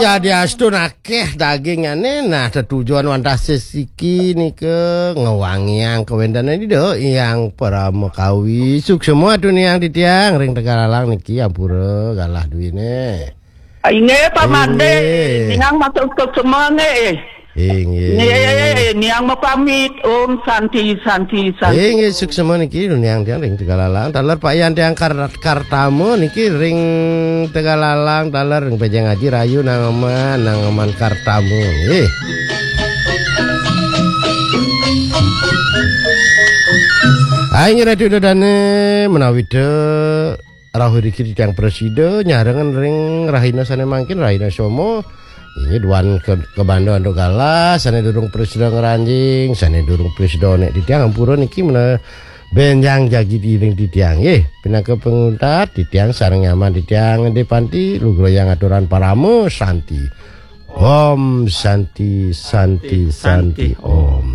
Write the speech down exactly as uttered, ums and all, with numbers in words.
Ya diastun akeh daginge, nah tetujon wantah sesiki nika ngewangiang kawentene Ida Hyang Paramakawi. Suksema tuniang titiang ring Tegalalang niki ampura galah duwine. Inggih, Pak Made. Inggih. Niang matur suksema nggih. Inggih. Nggih, niang mapamit. Om Santi, Santi, Santi. Inggih, suksema niki tuniang tiang ring Tegalalang. Taler Pak Yan tiang Kar-, Kartama niki ring Tegalalang, taler ring Pejeng Aji Rayu Nangaman, Nangaman Kartama. Nggih. Aing Ratu Dadane menawi te rauh riki titiang prasida nyarengan ring rahina sane mangkin, rahina Soma. Inggih duan ke, kabanda antuk galah, sane durung prasida ngranjing, sane durung prasida nek titiang ampura niki mena benjang jagi ring titiang. Nggih, pinaka panguntat titiang sareng nyaman titiang Ende Panti lugrayang aturan parama santi. Om Santi, Santi, Santi, Om.